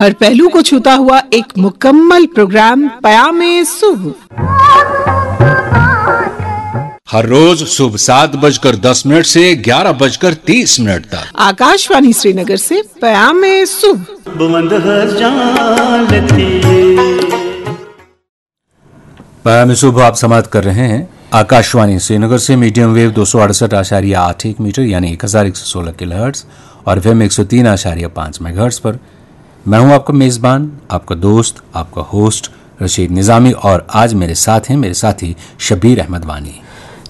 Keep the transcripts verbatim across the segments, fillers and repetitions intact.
हर पहलू को छूता हुआ एक मुकम्मल प्रोग्राम पयामे सुबह। हर रोज सुबह सात बजकर दस मिनट से ग्यारह बजकर तीस मिनट तक। आकाशवाणी श्रीनगर से पयामे सुबह। पयामे सुबह आप समाप्त कर रहे हैं आकाशवाणी श्रीनगर से मीडियम वेव दो सौ अड़सठ आशारिया आठ एक मीटर यानी एक हज़ार एक सौ सोलह किलोहर्ट्ज़ और एफएम एक सौ तीन आशारिया पाँच मेगाहर्ट्ज़ पर। मैं हूं आपका मेजबान, आपका दोस्त, आपका होस्ट रशीद निजामी और आज मेरे साथ हैं मेरे साथी शबीर अहमद वानी।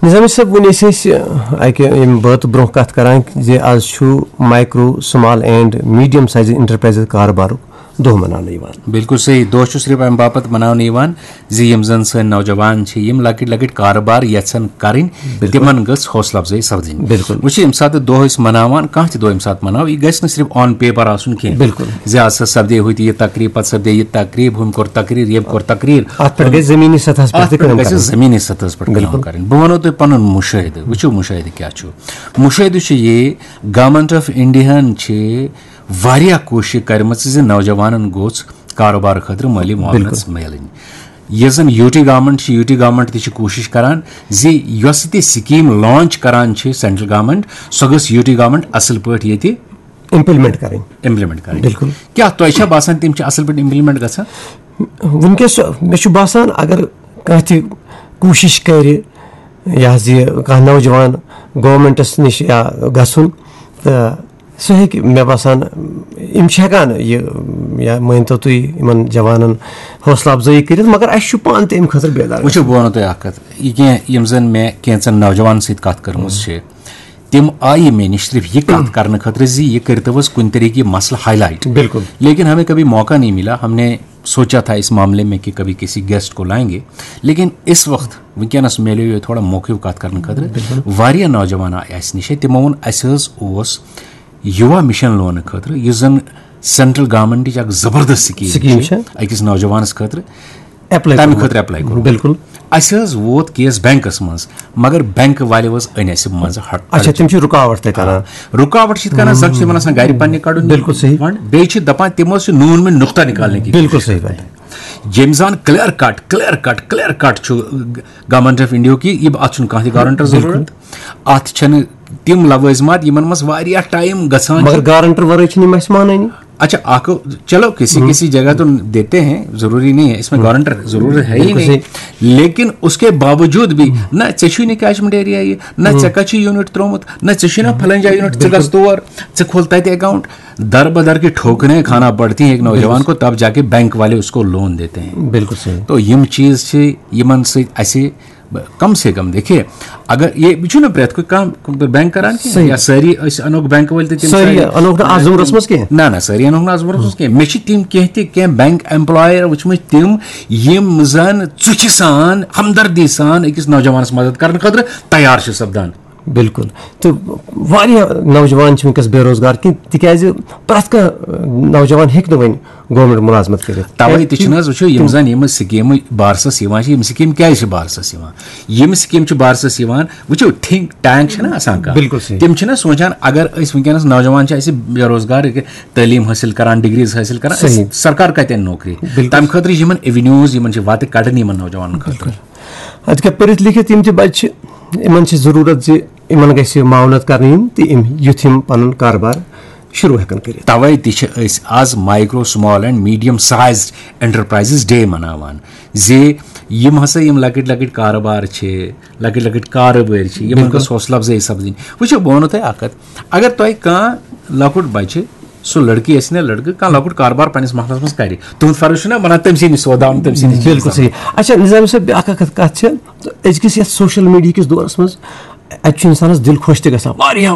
نظامی صٲب، وۄنۍ ٲسۍ أسۍ، اَکہِ ییٚمہِ بٲتہٕ برونٛہہ کَتھ کَران زِ آز چھُ micro, small and medium size enterprises کارٕبارُک دۄہ مَناونہٕ یِوان۔ بِلکُل صحیح، دۄہ چھُ صرف اَمہِ باپَتھ مَناونہٕ یِوان زِ یِم زَن سٲنۍ نوجوان چھِ، یِم لۄکٕٹۍ لۄکٕٹۍ کارٕبار یَژھان کَرٕنۍ، بِلکُل۔ تِمَن گٔژھ حوصلہٕ اَفزٲیی سَپدٕنۍ۔ بِلکُل۔ وٕچھِو، ییٚمہِ ساتہٕ دۄہ أسۍ مَناوان، کانٛہہ تہِ دۄہ ییٚمہِ ساتہٕ مَناوو، یہِ گژھِ نہٕ صرف on paper آسُن کینٛہہ۔ بِلکُل۔ زِ آز ہسا سَپدے ہُتہِ یہِ تقریٖب، پَتہٕ سَپدے یہِ تقریٖب، ہُمۍ کوٚر تقریٖر، ییٚمۍ کوٚر تقریٖر۔ اَتھ پٮ۪ٹھ گژھِ زٔمیٖنی سطحَس پٮ۪ٹھ اَتھ تہِ پٮ۪ٹھ کٲم گژھِ کَرٕنۍ۔ زٔمیٖنی سطحَس پٮ۪ٹھ کٲم بِلکُل۔ کَرٕنۍ۔ بہٕ وَنو تۄہہِ پَنُن مُشٲہِدٕ۔ وٕچھِو، مُشٲہِدٕ کیٛاہ چھُ۔ مُشٲہِدٕ چھُ یہِ، گورنمنٹ آف اِنڈیاہَن چھِ واریاہ کوٗشِش کَرِمَژٕ زِ نوجوانَن گوٚژھ کاروبار خٲطرٕ مٲلی معاونت بِلکُل۔ مِلٕنۍ۔ یۄس زَن یوٗ ٹی گورنمنٹ چھِ، یوٗ ٹی گورنمنٹ تہِ چھِ کوٗشِش کَران زِ یۄس تہِ سکیٖم لانچ کَران چھِ سینٹرل گورنمنٹ، سۄ گٔژھ یوٗ ٹی گورنمنٹ اَصٕل پٲٹھۍ ییٚتہِ اِمپلمنٹ کَرٕنۍ۔ اِمپلمنٹ کَرٕنۍ۔ بِلکُل۔ کیٛاہ تۄہہِ چھا باسان تِم چھِ اَصٕل پٲٹھۍ اِمپلمنٹ گژھان؟ وٕنکیٚس مےٚ چھُ باسان، اگر کانٛہہ تہِ کوٗشِش کَرِ، یہِ حظ یہِ کانٛہہ نوجوان گورنمنٹَس نِش یا گژھُن، تہٕ سُہ ہیٚکہِ، مےٚ باسان، یِم چھِ ہٮ۪کان یہِ، یا مٲنۍ تو تُہۍ، یِمَن جوانَن حوصلہٕ اَفزٲیی کٔرِتھ، مگر اَسہِ چھُ پانہٕ تہِ اَمہِ خٲطرٕ بیدار وٕچھِو، گژھُن۔ بہٕ وَنو تۄہہِ اَکھ کَتھ، یہِ کینٛہہ یِم زَن مےٚ کینٛژَن نوجوانَن سۭتۍ کَتھ کٔرمٕژ چھِ، تِم آیہِ مےٚ نِش صرف یہِ کَتھ کَرنہٕ خٲطرٕ زِ یہِ کٔرۍتو حظ کُنہِ طریٖقہٕ یہِ مسلہٕ ہائی لائٹ۔ بِلکُل۔ لیکن ہمیں کبھی موقع نہیں ملا، ہم نے سوچا تھا اس معاملے میں کہ کبھی کسی گیسٹ کو لائیں گے، لیکن اس وقت وٕنکیٚنَس میلیو یہِ تھوڑا موقعہٕ کَتھ کَرنہٕ خٲطرٕ۔ بِلکُل۔ واریاہ نوجوان آیہِ اَسہِ نِش، تِمو ووٚن اَسہِ حظ اوس یُوا مِشن لونہٕ خٲطرٕ، یُس زَن سینٹرل گورنمنٹٕچ اَکھ زبردست سکیٖم سکیٖم چھِ چھِ۔ أکِس نوجوانَس خٲطرٕ۔ ایپلاے تَمہِ کوٚرمُت۔ خٲطرٕ ایپلاے کوٚرمُت۔ بِلکُل۔ اَسہِ حظ ووت کیس بینکَس منٛز، مگر بینک والیو حظ أنۍ اَسہِ منٛزٕ ہٹ-، اچھا، تِم چھِ رُکاوٹ تَتہِ اَنان۔ رُکاوٹ چھِ یِتھ کَنۍ زَن چھِ تِمَن آسان گَرِ پنٛنہِ کَڑُن بِلکُل صحیح۔ فنڈ، بیٚیہِ چھِ دَپان تِم حظ چھِ نوٗن مٔنٛدۍ نُقطہ نِکالنے کی بِلکُل کوٗشِش صحیح کران۔ بات ہے۔ ییٚمہِ سان clear cut, clear cut, clear cut چھُ گورنمنٹ آف انڈیا کی، یہِ اَتھ چھُنہٕ کانٛہہ تہِ گارنٹر بِلکُل۔ ضروٗرت، اَتھ چھَنہٕ تِم لوٲزمات یِمن منٛز واریاہ ٹائم گژھان چھُ۔ مگر گارنٹر ورٲے چھِنہٕ یِم اَسہِ مانٲنی۔ اچھا، اکھ، چلو، کسی ہم۔ کسی جگہ تو دیتے ہیں، ضروری نہیں ہے، اس میں ہم۔ گارنٹر ضرور ہے ہی بالکل نہیں۔ صحیح۔ لیکن اس کے باوجود بھی، ہم۔ نہ ژےٚ چھُے نہٕ کیچمنٹ ایریا یہِ، نہ ہم۔ ژےٚ کَتہِ چھُے یونٹ ترٛوومُت، نہ ژےٚ چھُے نہ فلٲنۍ جایہِ یونٹ، ژٕ بالکل۔ گژھ تور، ژٕ کھول تَتہِ اکاؤنٹ۔ در بدر کی ٹھوکریں کھانا پڑتی ہیں ایک نوجوان بالکل۔ کو، تب جا کے بینک والے اس کو لون دیتے ہیں۔ بالکل صحیح۔ تو یِم چیٖز چھِ، یِمن سۭتۍ اَسہِ کم سے کم، دیکھیے، اگر یہ چھُنہٕ پرٛٮ۪تھ کُنہِ کانٛہہ بینک کران کینٛہہ، صحیح۔ یا سٲری أسۍ اَنوکھ بینک وٲلۍ تہٕ تِم سٲری سٲری اَنوکھ نہٕ اَتھ زُمرَس منٛز کینٛہہ۔ نہ، نہ، سٲری اَنوکھ نہٕ اَتھ زُمرَس منٛز کینٛہہ۔ مےٚ چھِ تِم کینٛہہ تہِ، کینٛہہ بینک ایمپلایَر وٕچھمٕتۍ تِم، یِم زَن ژُچھِ سان، ہمدردی سان أکِس نوجوانَس مدد کرنہٕ خٲطرٕ تیار چھِ سپدان۔ بِلکُل۔ تہٕ واریاہ نوجوان چھِ وٕنکیٚس بے روزگار کہِ، تِکیازِ پرٛٮ۪تھ کانٛہہ نوجوان ہیٚکہِ نہٕ وۄنۍ گورنمنٹ مُلازمت کٔرِتھ۔ توے تہِ چھِنہٕ حظ وٕچھِو، یِم تِم زَن یِم سکیٖمہٕ بارسَس یِوان چھِ، یِم سکیٖم کیازِ چھِ بارسَس یِوان؟ یِم سکیٖم چھِ بارسَس یِوان، وٕچھِو، تھنک ٹینک چھِنہ آسان کانٛہہ؟ بِلکُل صحیح۔ تِم چھِنہ سونٛچان، اگر أسۍ وٕنکیٚنَس نوجوان چھِ اَسہِ بے روزگار، ییٚکیٛاہ تعلیٖم حٲصِل کران، ڈگریز حٲصِل کران، أسۍ، صحیح۔ سرکار کَتہِ اَنہِ نوکری؟ بِلکُل۔ تَمہِ خٲطرٕ چھِ یِمن ایونیوز، یِمن چھِ وَتہٕ کَڑٕنۍ یِمن نوجوانَن خٲطرٕ۔ بِلکُل۔ اَتہِ کیٛاہ پٔرِتھ لیکھِتھ یِم تہِ بَچہِ چھِ، یِمن چھِ ضروٗرت زِ یِمن گژھِ معاونت کرنہٕ یِنۍ تہٕ یِم، یُتھ یِم پَنُن کاربار شروٗع ہٮ۪کن کٔرِتھ۔ توے تہِ چھِ أسۍ آز micro, small and medium sized enterprises day مناوان زِ یِم ہسا یِم لۄکٕٹۍ لۄکٕٹۍ کاربار چھِ، لۄکٕٹۍ لۄکٕٹۍ کاربٲرۍ چھِ، یِمن بِلکُل۔ گٔژھ حوصلہٕ افزٲیی سپدٕنۍ۔ وٕچھِو، بہٕ وَنو تۄہہِ اکھ کَتھ، اگر تۄہہِ کانٛہہ لۄکُٹ بَچہِ، سُہ لڑکی ٲسِن یا لڑکہٕ، کانٛہہ لۄکُٹ کاربار پننِس محلس منٛز کرِ، تُہُنٛد فرض چھُنہ بَنان تٔمۍ سٕے نِش سودا اَنُن، تٔمۍ سٕے نِش چیٖز بِلکُل اَنُن۔ صحیح۔ اچھا، نظام صٲب، بیٛاکھ اکھ کَتھ چھِ، أزکِس یَتھ سوشل میڈیا کِس دورس منٛز اَتہِ چھُ اِنسانَس دِل خۄش تہِ گژھان۔ واریاہ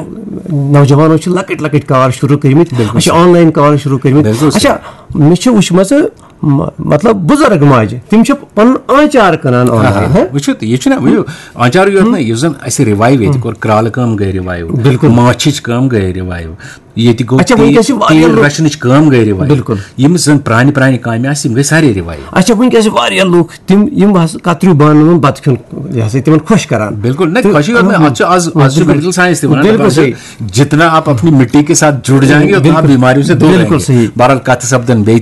نوجوانو چھِ لۄکٕٹۍ لۄکٕٹۍ کار شروٗع کٔرمٕتۍ، بِلکُل اَسہِ چھِ صحیح۔ آن لاین کار شروٗع کٔرمٕتۍ۔ بِلکُل صحیح۔ اچھا، مےٚ چھِ وٕچھمَژٕ م- مطلب بُزرگ ماجہِ، تِم چھِ پنُن آنچار کٕنان آنلاین، ہاں۔ وٕچھِو تہٕ یہِ چھُنہ، وٕچھِو، آنچار یوت نہٕ، یُس زن اسہِ ریوایو ییٚتہِ کوٚر، کرالہٕ کٲم گٔے ریوایو، بِلکُل۔ ماچھِچ کٲم گٔے ریوایو، ییٚتہِ گوٚو اچھا، تیٖل، وٕنکیٚس چھِ واریاہ تیٖل لُکھ۔ رچھنٕچ کٲم گٔے ریوایو۔ بِلکُل۔ یِم زن پرانہِ پرانہِ کامہِ آسہٕ، یِم گٔے سارے ریوایو۔ اچھا، وٕنکیٚس چھِ واریاہ لُکھ تِم، یِم بس کتریو بانہٕ منٛز بتہٕ کھیوٚن، یہِ ہسا تِمن خۄش کران۔ بِلکُل، نہ، تہٕ- خۄشی یوت نہٕ، اتھ چھُ از، از چھُ بِلکُل۔ میڈیکل ساینس تہِ ونان، بِلکُل دپان چھِ، صحیح۔ جتنا آپ اپنی مٹی کے ساتھ جڑ جائیں گے، اتنا بِلکُل۔ بیماریوں سے دور بِلکُل رہیں گے۔ صحیح۔ بہرحال، کتھ سپدن بیٚیہِ تہِ